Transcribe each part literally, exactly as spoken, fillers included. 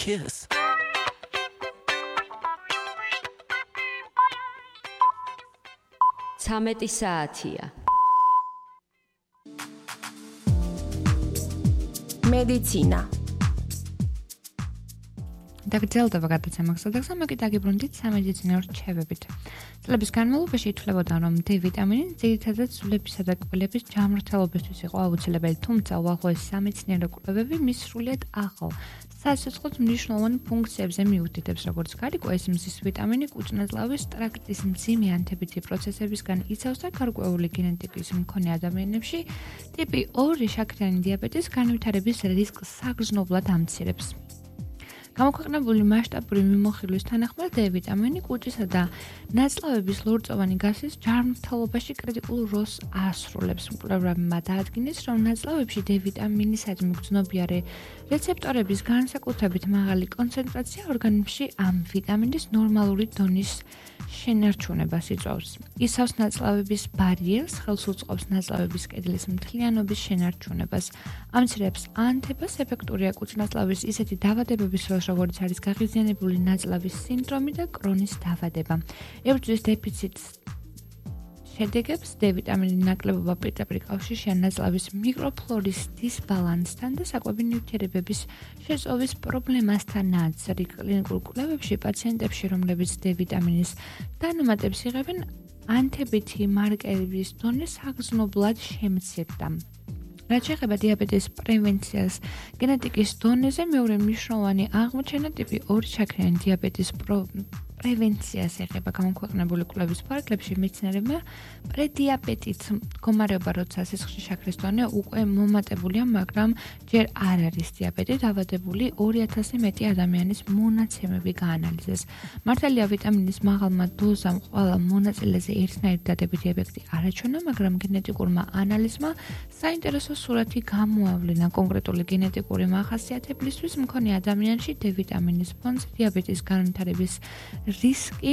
Kiss. ცამეტი საათია. მედიცინა. დაგრძელდება გადაცემა გასაგებია, მაგრამ დაგიბრუნდით სამედიცინო რჩევებით. წლების განმავლობაში ითვლებოდა, რომ D ვიტამინი ძირითადად სულებისა და კბილების ჯანმრთელობისთვის იყო აუცილებელი, თუმცა უახლოესი სამეცნიერო კვლევები მის სრულიად ახალ სასიცოცხლოდ მნიშვნელოვან ფუნქციებზე მიუთითებს, როგორც გარკვეულ ეს მზის ვიტამინი კუჭ-ნაწლავის ტრაქტის მძიმე ანთებითი პროცესებისგან იცავს და გარკვეული გენეტიკის მქონე ადამიანებში ტიპი ორი შაქრიანი დიაბეტის განვითარების რისკს საგრძნობლად ამცირებს. გამოქვეყნებული მასშტაბური მიმოხილვის თანახმად D ვიტამინი კუჭისა და ნაწლავების ლორწოვანი გასის ჯანმრთელობაში კრიტიკულ როლს ასრულებს. მკვლევარებმა დაადგინეს, რომ ნაწლავებში D ვიტამინისადმი გრძნობიარე რეცეპტორების განსაკუთრებით მაღალი კონცენტრაცია ორგანიზმში ამ ვიტამინის ნორმალური დონის შენარჩუნებას იწვევს. იცავს ნაწლავების ბარიერს, ხელს უწყობს ნაწლავების კედლის მთლიანობის შენარჩუნებას, ამცირებს ანთებას, ეფექტურია კუჭ-ნაწლავის ისეთი დაავადებების დროს, როგორც არის გაღიზიანებული ნაწლავის სინდრომი და კრონის დაავადება. ებრძვის დეფიციტს შედეგებს D ვიტამინის ნაკლებობა პირდაპირ კავშირშია ნაწლავის მიკროფლორის დისბალანსთან და საკვები ნივთიერებების შეწოვის პრობლემასთანაც. კლინიკურ კვლევებში პაციენტებში, რომლებიც D ვიტამინის დანამატებს იღებენ, ანთებითი მარკერების დონე საგრძნობლად შემცირდა. რაც შეეხება დიაბეტის პრევენციას გენეტიკის დონეზე, მეორე მნიშვნელოვანი აღმოჩენა ტიპი ორი შაქრიანი დიაბეტის პრევენციას ეხება. გამოქვეყნებული კვლევის ფარგლებში მეცნიერებმა პრედიაბეტით მდგომარეობა, როცა სისხლში შაქრის დონე უკვე მომატებულია, მაგრამ ჯერ არ არის დიაბეტი, დაავადებული ორი ათასზე მეტი ადამიანის მონაცემები გაანალიზეს. მართალია ვიტამინის მაღალმა დოზამ ყველა მონაწილეზე ერთნაირი დადებითი ეფექტი არ აჩვენა, მაგრამ გენეტიკურმა ანალიზმა საინტერესო სურათი გამოავლინა. კონკრეტული გენეტიკური მახასიათებლისთვის მქონე ადამიანში D ვიტამინის ფონზე დიაბეტის განვითარების რისკი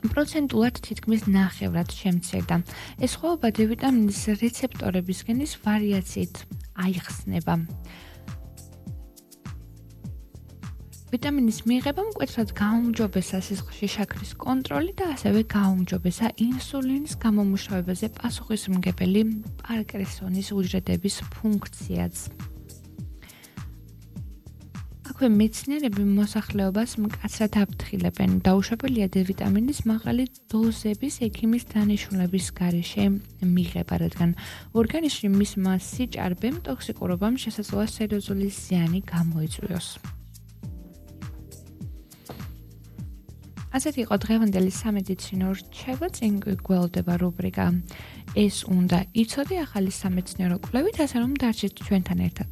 პროცენტულად თითქმის ნახევრად შემცირდა. ეს სხვაობა D ვიტამინის რეცეპტორების გენის ვარიაციით აიხსნება. ვიტამინის მიღება მკვეთრად გაუმჯობესა სისხლში შაქრის კონტროლი და ასევე გაუმჯობესა ინსულინის გამომუშავებაზე პასუხისმგებელი პარკინსონის უჯრედების ფუნქციაც. აქვე მეცნიერები მოსახლეობას მკაცრად აფრთხილებენ. დაუშვებელია D ვიტამინის მაღალი დოზების ექიმის დანიშნულების გარეშე მიღება, რადგან ორგანიზმში მისმა სიჭარბემ ტოქსიკურობამ შესაძლოა სერიოზული ზიანი გამოიწვიოს. ასეთი იყო დღევანდელი სამედიცინო რჩევა, წინ გველდება რუბრიკა ეს უნდა იცოდე ახალი სამეცნიერო კვლევით, ასე რომ დარჩით ჩვენთან ერთად.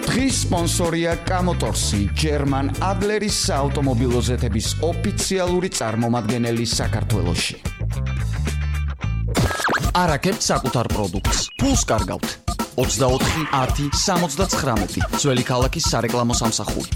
დღის სპონსორია კამოტორსი, ჯერმან ადლერის საავტომობილო ზეთების ოფიციალური წარმომადგენელი საქართველოში. არაკეთ საკუთარ პროდუქტს. ფულს კარგავთ. ოცდაოთხი ათი სამოცდაცხრამეტი ძველი ქალაქის სარეკლამო სამსახური.